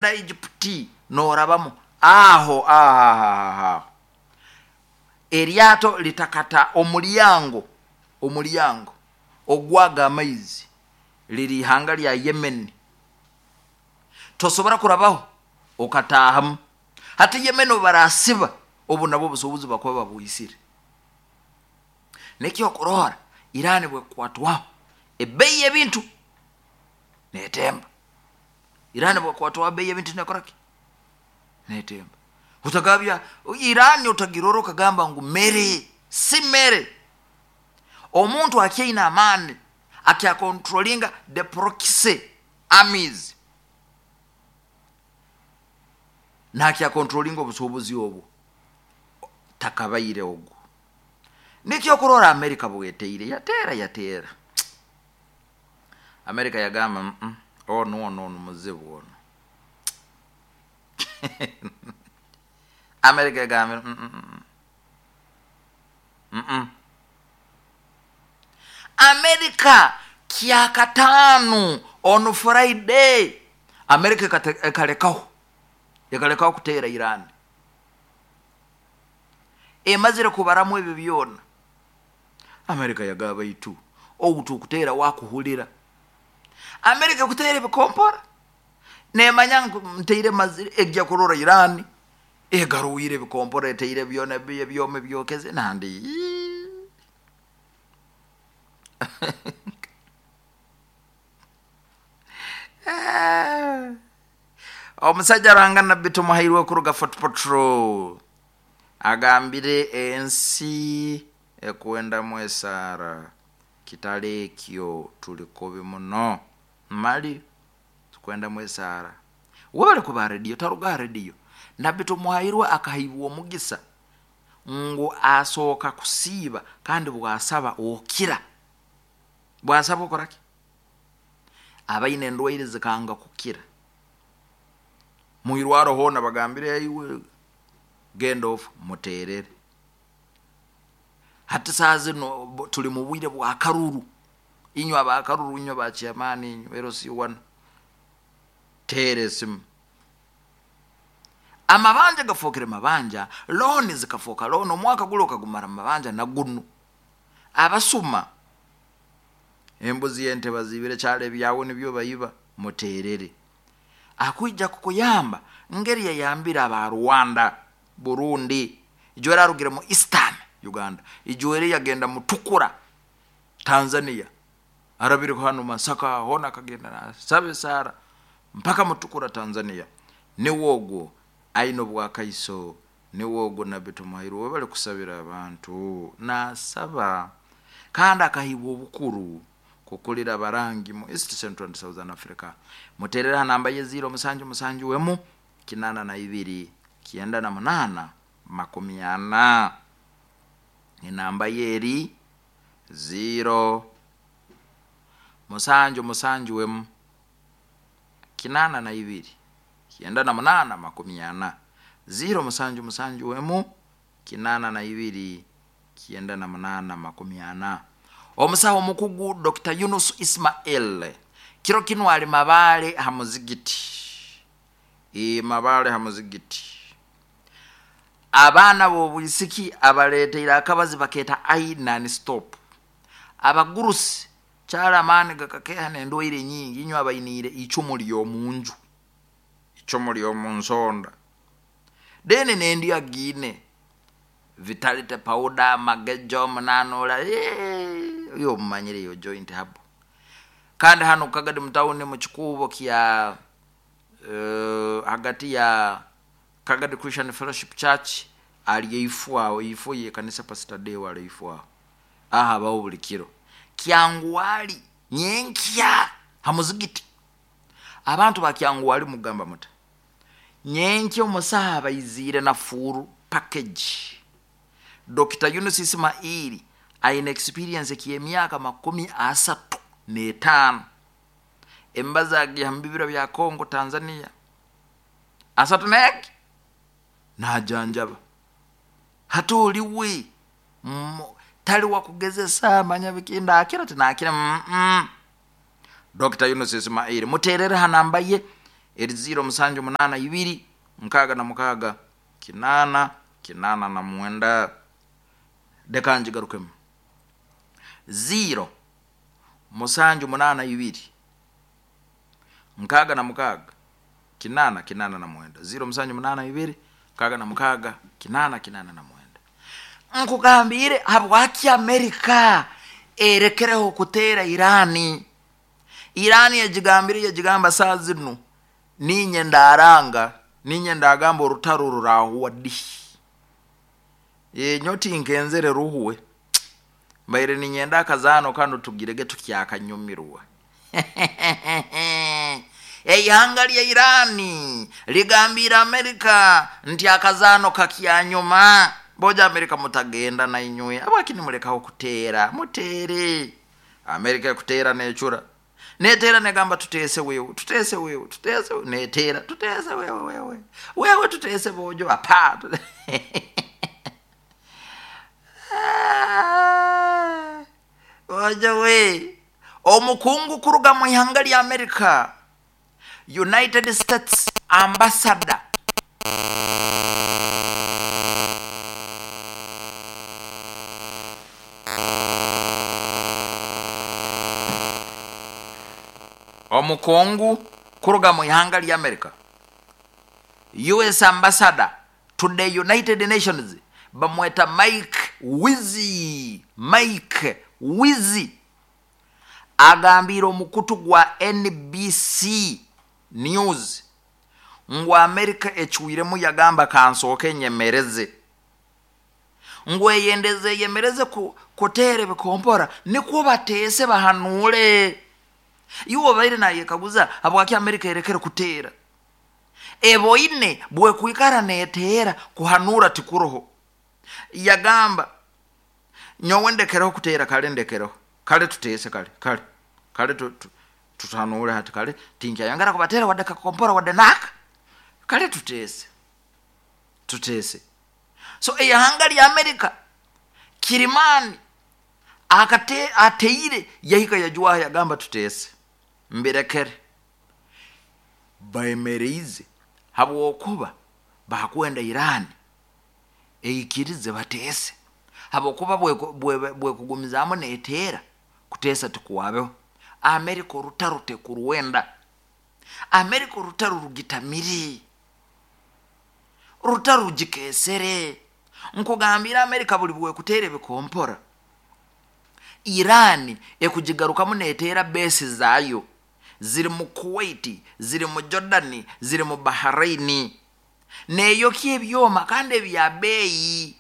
Egypt norabamu aho aho eryato litakata omulyango omulyango ogwaga amaizi riri ihanga rya Yemen tosobora kurabaho okatahamu hati Yemen obubarasiba obu nabwo obusubuzi bakuba babwisire nekyokurora Iran bwekukwatwaho ebeyi yebintu netemba. Iran bwekwatwaho ebeeyi y'ebintu nekora ki? Netemba. Otagabya Iran otagirora okagamba ngu mere, si mere. Omuntu akyaine amaani akya controllinga the proxy armies nakya controllinga obusuubuzi obwo takabaire ogwo. Nikyo okurora America bweteire yateera yateera. America yagamba mm onu onu onu muzibu onu. America egambire mm mm. America kyakataano on Friday America ekalekaho ekalekaho kuteera Iran. Emazire kubaramu ebyo byona. America yagaba baitu ogu tukuteera wakuhurira. America ekuteera ebikompora nemanya ngu nteire mazire egya kurora Iran egarwire ebikompora eteire byona ebyoma ebyokeze nandi Omusaija Ruhanga Nabbi Tumuhairwe kuruga Fort Portal. Agambire ensi ekwendamu esaara, Kitali ekyo tuli kubi muno. Mali tukwendamu esaara. Webale kuba ha rediyo, taruga ha rediyo. Nabbi Tumuhairwe akahaibwa omugisa ngu asooka kusiiba kandi bwasaba okira. Bwasaba okora ki? Abaine endwaire zikanga kukira. Mwirwaro hoona bagambire iwe genda ofe, muteerere. Hati saaha zinu turi mu bwire bwa karuru, inywe aba karuru, inywe ba chairman, inywe LC1, teera esimu. Amabanja gafookere mabanja, looni zikafooka looni, omwaka guri okagumara mu mabanja na gunu. Abasuma, embuzi ente baziibire kyaro ebyawe nibyo baiba, muteerere. Akwija kukuyamba ngeri yayambire aba Rwanda, Burundi, ijweri arugire mu Eastern Uganda, ijweri yagenda Mutukura, Tanzania, arabire hanu Masaka hona akagenda nasaba esaara mpaka Mutukura Tanzania. Niwe ogwo aine obwakaiso, niwe ogwo Nabbi Tumuhairwe webale kusabira abantu. Nasaba kandi akahaibwa obukuru kukurira abarangi mu East, Central and Southern Africa. Muterere aha namba ye ziiro musanju musanju emu kinana na ibiri 98 40. Enamba ye eri ziiro musanju musanju emu 82 98 40. Ziiro musanju musanju emu 82 98 40. Omusaho omukugu Dokita Yunus Ismail kiro kinu ali Mabaale ha muzigiti. Ii, Mabaale ha muzigiti. Abaana b'obwisiki abaleeteire akabazi bakeeta I non stop. Abagurusi kyali amaani gakakeeha n'endwaire nyingi inywe abainiire icumu ly'omunju, icumu ly'omu nsonda. Then n'endya giine Vitality powder, magejo, munanura, eeh oyo omumanyire eyo joint herbal. Kandi hanu Kagadi mu town mu kikuubo kya hagati ya Kagadi Christian Fellowship Church ari eifo aho, eifo ye kanisa Pastor Deo ari eifo aho. Aho abaho buri kiro. Kyangwali nyenkya ha muzigiti. Abantu ba Kyangwali mugamba muta? Nyenkya omusaho abaiziire na full package. Dokita Yunus Ismail aine experience ky'emyaka 35. Emibazi agiiha mu bibira bya Congo, Tanzania. Asatu n'egi najanjaba. Hati ori we tari wakugezesa manya biki ndakira tinakira mm. Dokita Yunus Ismail muteerere ha namba ye. Eri ziiro musanju munaana ibiri 66 8 89. Reka ngigarukemu. Ziiro musanju munaana ibiri 66 8 89. Ziiro musanju munaana ibiri 66 8 89. Nkugambiire habwaki Amerika erekereho kuteera Irani. Irani yagigambire yagigamba saa zinu ninye ndaranga ninye ndagamba orutaro rurahuwa di. Nyowe tinkenzere ruhuwe. Mbaire ninyenda akazaano kanu tugirege tukyakanyumirwa. Eihanga lya Irani ligambiire Amerika nti akazaano kakyanyuma. Boja Amerika mutagenda na inywe. Habwaki nimulekaho kuteera? Muteere. Amerika ekuteera necura. Neteera negamba tuteese wewe, tuteese wewe, tuteese wewe. Neteera, tuteese wewe, wewe. Wewe tuteese bojo, apa. Bojo we. Omukungu kuruga mu ihanga lya Amerika, United States Ambassador. Omukungu kuruga mu ihanga lya Amerika, US Ambassador to the United Nations, bamweta Mike Wizi. Mike Wizi agambire omukutu gwa NBC News ngu Amerika ecwiremu yagamba kansooke nyemereze, ngu eyendeze eyemereze kuteera ebikompora nikwo bateese bahanuure. Iwe obaire nayekaguza habwaki Amerika erekere kuteera. Eboine bwekwikara neteera kuhanura tikuroho. Yagamba nyowe ndekereho kuteera, kale ndekereho, kale tuteese, kale kale kale tutahanure hati, kale tinkyayongera kubateera wadde kakompora wadde naka, kale tuteese, tuteese. So eihanga lya Amerika kirimani akate ateire yahika yajwaha yagamba tuteese mbirekere. Baemereize habwokuba bakwenda Irani eikirize bateese, habwokuba bwekugumizaamu neteera kuteesa tikuwabeho. Amerika orutaro tekurwenda. Amerika orutaro rugitamire, orutaro rugikesere. Nkugambira Amerika buli bwekuteera ebikompora, Irani ekugigarukamu neteera besi zaayo ziri mu Kuwait, ziri mu Jordani, ziri mu Bahrain, neyokya ebyoma kandi ebya beeyi.